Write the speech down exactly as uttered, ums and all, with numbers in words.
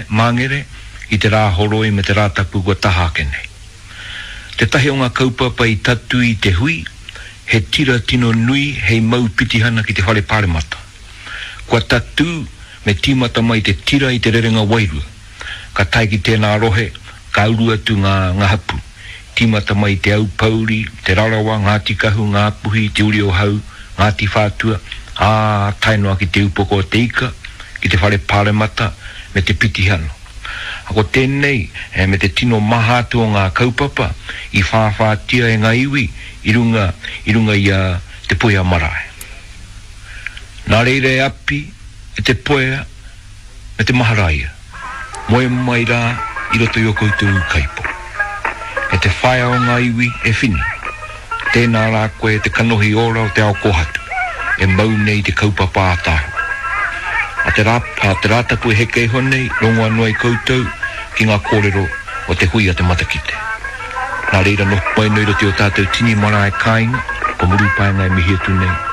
Māngere, i te Rāhoroi me te Rātapu kua taha ake nei. Tētahi o ngā kaupapa i tatū i te hui, he tira tino nui hei mau pitihana ki te Whare Pāremata. Kua tatū me tīmata mai te tira i te rerenga wairua. Ka tae ki tēnā rohe, ka uru atu ngā ngā hapū. Tīmata mai i Te Aupōuri, Te Rarawa, Ngāti Kahu, Ngāpuhi, Te Uri o Hau, Ngāti Whātua, ā, tae noa ki Te Upoko o Te Ika, ki te Whare Pāremata me te pitihana. Ko tēnei, me te tino maha atu o ngā kaupapa i whāwhātia e ngā iwi i runga i runga i a Te Puea Marae. Nā reira e Api, e Te Puea, me te Maharaia, moe mai rā i roto i ō koutou ūkaipō. E te whaea o ngā iwi, e Whini, tēnā rā koe te kanohi ora o te ao kōhatu, e mau nei te kaupapa ātaahua. A te rā, a te Rātapu e heke iho nei, rongo anō ai koutou ki ngā kōrero o te hui a te matakite. Nā reira noho mai nei i roto i ō tātou tini marae kāinga, ko Murupaenga e mihi atu nei.